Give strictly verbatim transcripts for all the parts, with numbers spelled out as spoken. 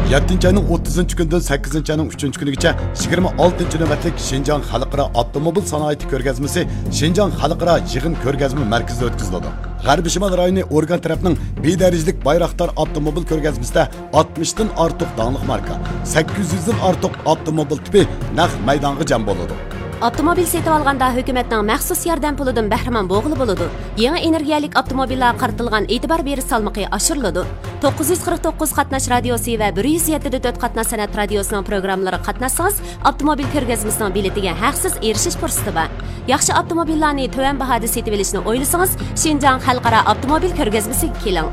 يەتتىنچى ئاينىڭ ئوتتۇزىنچى كۈنىدىن سەككىزىنچى ئاينىڭ ئۈچىنچى كۈنىگىچە يىگىرمە ئالتىنچى نۆۋەتلىك شىنجاڭ خەلقئارا ئاپتوموبىل سانائىتى كۆرگەزمىسى شىنجاڭ خەلقئارا يىغىن كۆرگەزمە مەركىزىدە ئۆتكۈزۈلىدۇ. غەربىي شىمال رايونى ئورگان تەرەپنىڭ بىر دەرىجىلىك بايراقدار ئاپتوموبىل كۆرگەزمىسىدە ئاتمىشتىن ئارتۇق داڭلىق ماركا، سەككىز يۈزدىن ئارتۇق ئاپتوموبىل تىپى نەق مەيدانغا جەم بولىدۇ. ئاپتوموبىل سېتىۋالغاندا ھۆكۈمەتنىڭ مەخسۇس ياردەم پۇلىدىن بەھرىمەن بولغىلى بولىدۇ. يېڭى ئېنېرگىيەلىك ئاپتوموبىللارغا قارىتىلغان ئېتىبار بېرىش سالمىقى ئاشۇرۇلىدۇ. توققۇز يۈز قىرىق توققۇز قاتناش رادىيوسى ۋە بىر يۈز يەتتە دە تۆت قاتناش سەنئەت رادىيوسىنىڭ پروگراممىلىرىغا قاتناشسىڭىز، ئاپتوموبىل كۆرگەزمىسىنىڭ بېلىتىگە ھەقسىز ئېرىشىش پۇرسىتى بار. ياخشى ئاپتوموبىللارنى تۆۋەن باھادا سېتىۋېلىشنى ئويلىسىڭىز، شىنجاڭ خەلقئارا ئاپتوموبىل كۆرگەزمىسىگە كېلىڭ.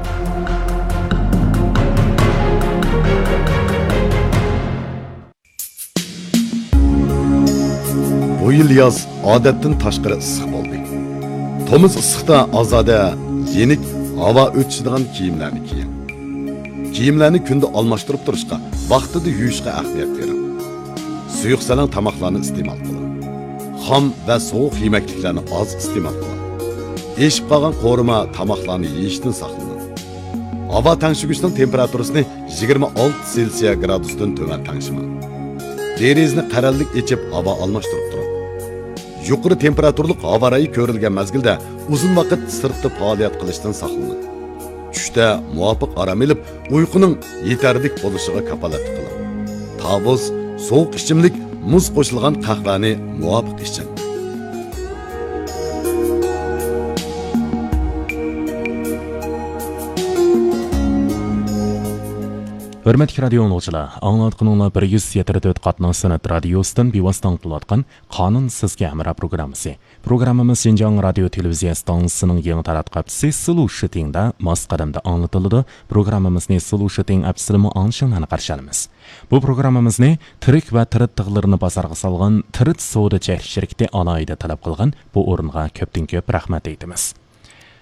بۇ يىل ياز ئادەتتىن تاشقىرى ئىسسىق بولدى. تومۇز ئىسسىقتا ئازادە، يېنىك، ھاۋا ئۆتۈشىدىغان كىيىملەرنى كىيىڭ. كىيىملەرنى كۈندە ئالماشتۇرۇپ تۇرۇشقا، ۋاقتىدا يۇيۇشقا ئەھمىيەت بېرىڭ. سۇيۇق سەلەڭ تاماقلارنى ئىستېمال قىلىڭ. خام ۋە سوغۇق يېمەكلىكلەرنى ئاز ئىستېمال قىلىڭ. ئېشىپ قالغان قورۇما تاماقلارنى يېيىشتىن ساقلىنىڭ. ھاۋا تەڭشىگۈچنىڭ تېمپېراتۇرىسىنى يىگىرمە ئالتە سېلسىيە گرادۇستىن تۆۋەن تەڭشىمەڭ. دېرىزىنى قەرەللىك ئېچىپ، ھاۋا ئالماشتۇرۇپ تۇرۇڭ. يۇقىرى تېمپېراتۇرىلىق ھاۋا رايى كۆرۈلگەن مەزگىلدە ئۇزۇن ۋاقىت سىرتتا پائالىيەت قىلىشتىن ساقلىنىڭ. چۈشتە مۇۋاپىق ئارام ئېلىپ، ئۇيقۇنىڭ يېتەرلىك بولۇشىغا كاپالەتلىك قىلىڭ. تاۋۇز، سوغۇق ئىچىملىك، مۇز قوشۇلغان قەھۋەنى مۇۋاپىق ئىچىڭ. ھۆرمەتلىك رادىيو ئاڭلىغۇچىلار، ئاڭلاۋاتقىنىڭلار بىر يۈز يەتتە تۆت قاتناش سەنئەت رادىيوسىدىن بىۋاسىتە ئاڭلىتىلىۋاتقان قانۇن سىزگە ھەمراھ پروگراممىسى. پروگراممىمىز شىنجاڭ رادىيو تېلېۋىزىيە ئىستانسىسىنىڭ يېڭى تاراتقۇ ئەپىسى سلۇشىتىڭدا ماس قەدەمدە ئاڭلىتىلىدۇ. پروگراممىمىزنى سلۇشىتىڭ ئەپىسىدىمۇ ئاڭلىشىڭلارنى قارشى ئالىمىز. بۇ پروگراممىمىزنى تىرىك ۋە تىرىت تىغلىرىنى بازارغا سالغان تىرىت سودا چەكلىك شىركىتى ئالاھىدە تەلەپ قىلغان. بۇ ئورۇنغا كۆپتىن كۆپ رەھمەت ئېيتىمىز.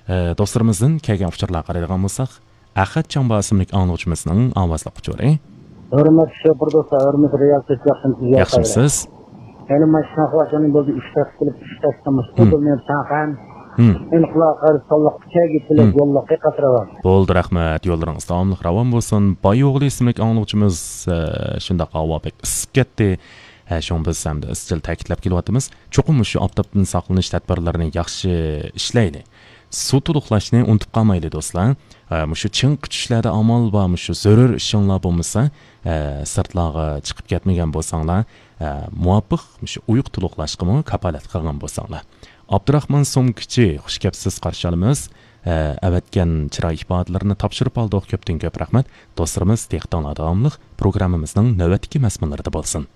ئە، دوستلىرىمىزدىن كەلگەن ئۇچۇرلارغا قارايدىغان بولساق، ئەخەت چاڭبا ئىسىملىك ئاڭلىغۇچىمىزنىڭ ئاۋازلىق ئۇچۇرى. ھۆرمەتلىك شوپۇر دوستلار، ھۆرمەتلىك رىياسەتچى، ياخشىمۇسىز؟ ياخشىمۇسىز؟ يەنە ماشىنا قىلىۋاتقان بولدى، ئۈچ تەس قىلىپ، ئۈچ تەس قىلمىش. مم. بۇ مېنىڭ تاقان. مم. ئېنىقلار قارىساللىق، چەگى تىلەك مم. يوللۇق قېقىتىۋال. بولدى، رەھمەت. يوللىرىڭىز داۋاملىق راۋان بولسۇن. باي ئوغلى ئىسىملىك ئاڭلىغۇچىمىز، ئە، شۇنداق ھاۋا بەك ئىسسىپ كەتتى. ھە، شۇڭا بىز ھەمدە ئىزچىل تەكىتلەپ كېلىۋاتىمىز. چوقۇم مۇشۇ ئاپتاپتىن ساقلىنىش تەدبىرلىرىنى ياخشى ئىشلەيلى. سۇ تولۇقلاشنى ئۇنتۇپ قالمايلى، دوستلار. ئە، مۇشۇ چىڭ چۈشلەردە ئامال بار، مۇشۇ زۆرۈر ئىشىڭلار بولمىسا، ئە، سىرتلارغا چىقىپ كەتمىگەن بولساڭلار، ئە، مۇۋاپىق مۇشۇ ئۇيقۇ تولۇقلاشقىمۇ كاپالەت قىلغان بولساڭلار. ئابدۇراخمان سومكىچى، خۇش كەپسىز، قارشى ئالىمىز. ئە، ئەۋەتكەن چىراي ئىپادىلىرىنى تاپشۇرۇپ ئالدۇق، كۆپتىن كۆپ رەھمەت. دوستلىرىمىز، دىققىتىڭلار داۋاملىق پروگراممىمىزنىڭ نۆۋەتتىكى مەزمۇنلىرىدا بولسۇن.